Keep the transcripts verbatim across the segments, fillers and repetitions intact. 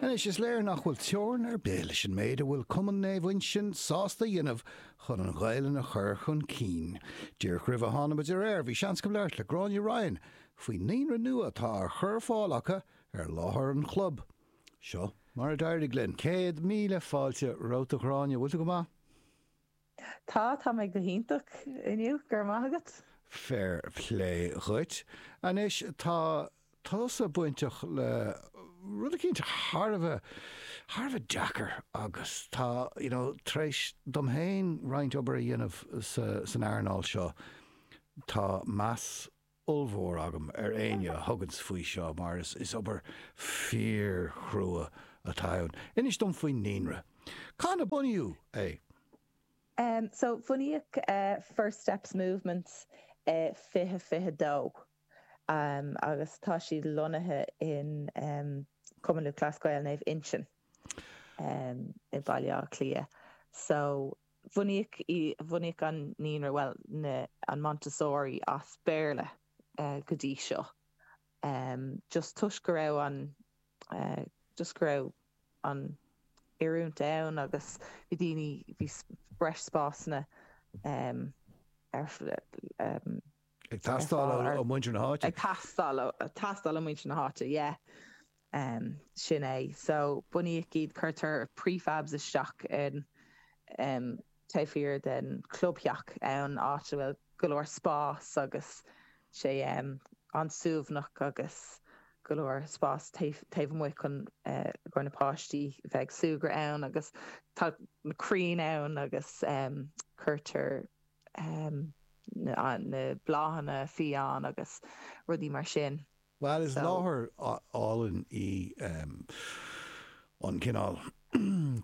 Anois is léir nach bhfuil teorainn ar bith leis an méid a bhfuil Cumann Naomh Uinseann sásta a dhéanamh chun an Ghaelainn a chur chun cinn. Díreach roimh a tháinig muid ar air bhí seans agam labhairt le Gráinne Ryan faoin naíonra nua atá á chur ar fáil acu ar láthair an chlub. Seo mar a d'éirigh linn céad míle fáilte romhat a Ghráinne bhfuil tú go maith? Tá tá mé go hiontach inniu go raibh maith agat. Fair play dhuit. Anois tá tusa bainteach le rud eicínt thar a bheith thar a bheith deacair agus tá you know, tar éis dom féin roinnt obair a dhéanamh sa, san earnáil seo tá meas ollmhór agam ar éinne a thuganns faoi seo mar is, is obair fíorchrua atá ann. Inis dom faoin naíonra. Cathain a bunaíodh é? Um, so bunaíodh uh, First Steps Movement uh, fiche fiche dó. Um, agus tá siad lonnaithe in um, Cumann Lúthchleas Gael Naomh Uinseann um, i Baile Átha Cliath. So bunaíodh bunaíodh an naíonra well na, an Montessori as Béarla uh, go dtí seo. Um, just toisc go raibh an uh, just go raibh an oiriúint ann agus bhí daoine bhí breis spásanna um, ar um, Ag teastáil ó mhuintir na háite. Ag teastáil teastáil ó mhuintir na háite, yeah. Um, sin é. So bunaíodh iad cuirtear prefabs isteach in um, taobh thiar den clubtheach ann áit a bhfuil go leor spás agus sé um, an-suaimhneach agus go leor spás taobh amuigh chun uh, go na páistí bheith súgradh ann agus tá na crainn ann agus um, cuirtear um, na, na bláthanna fiáin agus rudaí mar sin. Well is láthair álainn í um, an cineál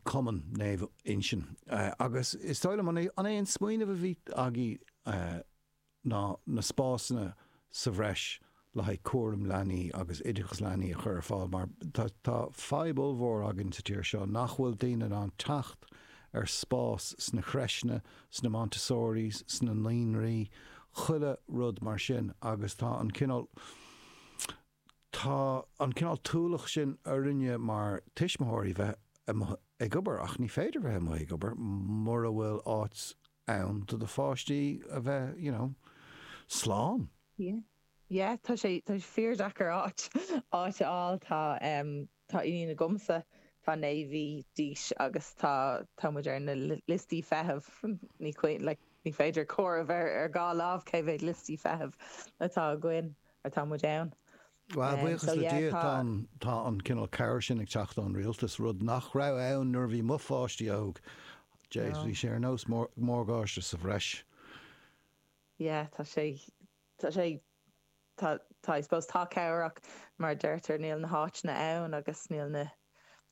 Cumann Naomh Uinseann uh, agus is dóigh liom an é an smaoineamh a bhí agaibh uh, ná na spásanna sa bhreis le haghaidh cúram leanaí agus oideachas leanaí a chur ar fáil mar tá, tá fadhb ollmhór againn sa tír seo nach bhfuil daoine in ann teacht ar spás sna crècheanna, sna Montessoris, sna naíonraí, chuile rud mar sin agus tá an cineál tá an cineál ualach sin orainne mar tuismitheoirí bheith ag obair ach ní féidir bheith amuigh ag obair mura bhfuil áit ann do do pháistí a bheith you know, slán. Yeah. Yeah, tá sé tá sé fíordeacair áit áit a fháil tá um, tá iníon agamsa tá naoi mí d'aois agus tá tá muid ar na liostaí feithimh ní like, ní féidir comhaireamh ar ar dhá lámh cé mhéad liostaí feithimh atá againn atá muid ann. Well buíochas le Dia tá tá an cineál cabhair sin ag teacht ón rialtas rud nach raibh ann nuair bhí mo pháistí óg. Jeez bhí sé ar nós morgáiste sa bhreis. Yeah, tá sé tá sé tá tá I suppose tá cabhair ach mar deirtear níl na háiteanna ann agus níl na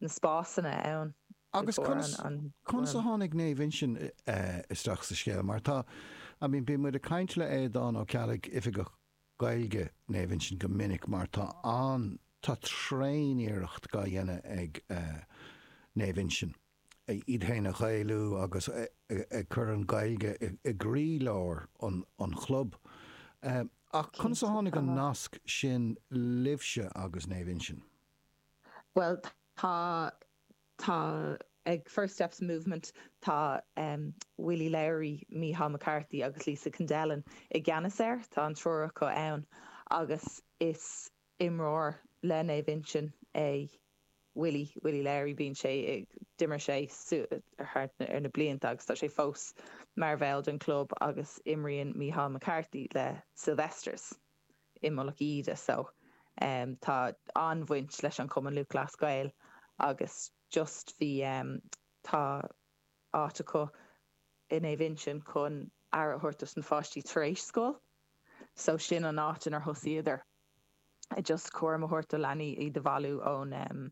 na spásanna ann. Agus conas conas a tháinig Naomh Uinseann isteach sa scéal mar tá I mean bíonn muid ag caint le Aodán Ó Ceallaigh oifigeach Gaeilge Naomh Uinseann go minic mar tá an tá tréaniarracht á dhéanamh ag uh, Naomh Uinseann iad féin a Ghaelú agus ag cur an Ghaeilge i gcroílár an, an chlub. Um, ach conas a tháinig an nasc sin libhse agus Naomh Uinseann? Well tá tá ag First Steps Movement tá um, Willie Lowry, Micheál McCarthy agus Lisa Kendellen i gceannas air tá an triúr acu ann agus is imreoir le Naomh Uinseann é Willie Willie Lowry bíonn sé d'imir sé ar ar na blianta agus tá sé fós mar bhall den club agus imríonn Micheál McCarthy le Sylvesters i Mullach Íde so um, tá an-bhaint leis an Cumann Lúthchleas Gael agus just bhí um, tá áit acu in Naomh Uinseann chun aire a thabhairt dos na páistí tar éis scoil, so sin an áit inar thosaíodar just cúram a thabhairt do leanaí iad a bhailiú ón um,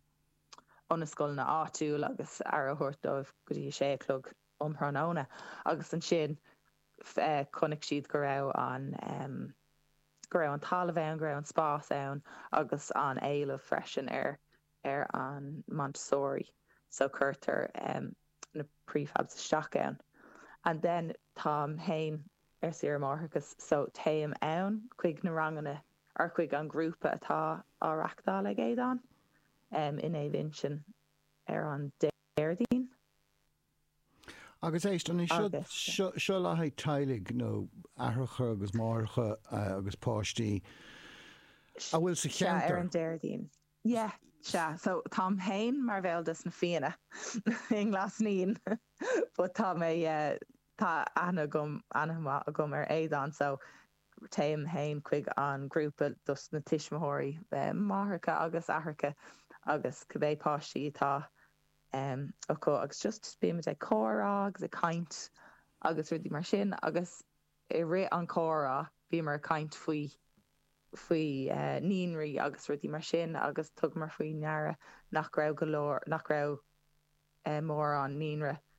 ó na scoileanna áitiúil agus aire a thabhairt dóibh go dtí sé a chlog um thráthnóna agus ansin uh, chonaic siad go raibh an um, go raibh an talamh ann, go raibh an spás ann agus an éileamh freisin ar ar an Montessori so cuirtear um, na prefabs isteach ann. And then táim féin ar saoire máithreachais so téim ann chuig na ranganna ar chuig an grúpa atá á reáchtáil ag Aodán. um, in Naomh Uinseann ar an Déardaoin. Agus éist an seo seo le haghaidh teaghlaigh nó aithreacha agus máithreacha uh, agus páistí a bhfuil sa cheantar ar an Déardaoin. Yeah, sea so táim féin mar bhall des na Fianna i nGlas Naíon but tá mé uh, tá aithne agam aithne agam ar Aodán so téim féin chuig an grúpa dos na tuismitheoirí máithreacha agus aithreacha agus cibé páistí atá um, acu agus just bímid ag comhrá agus ag caint agus rudaí mar sin agus i rith an chomhrá bhíomar ag caint faoi faoi uh, naíonraí agus rudaí mar sin agus thugamar faoi deara nach raibh go leor nach raibh uh, mórán naíonra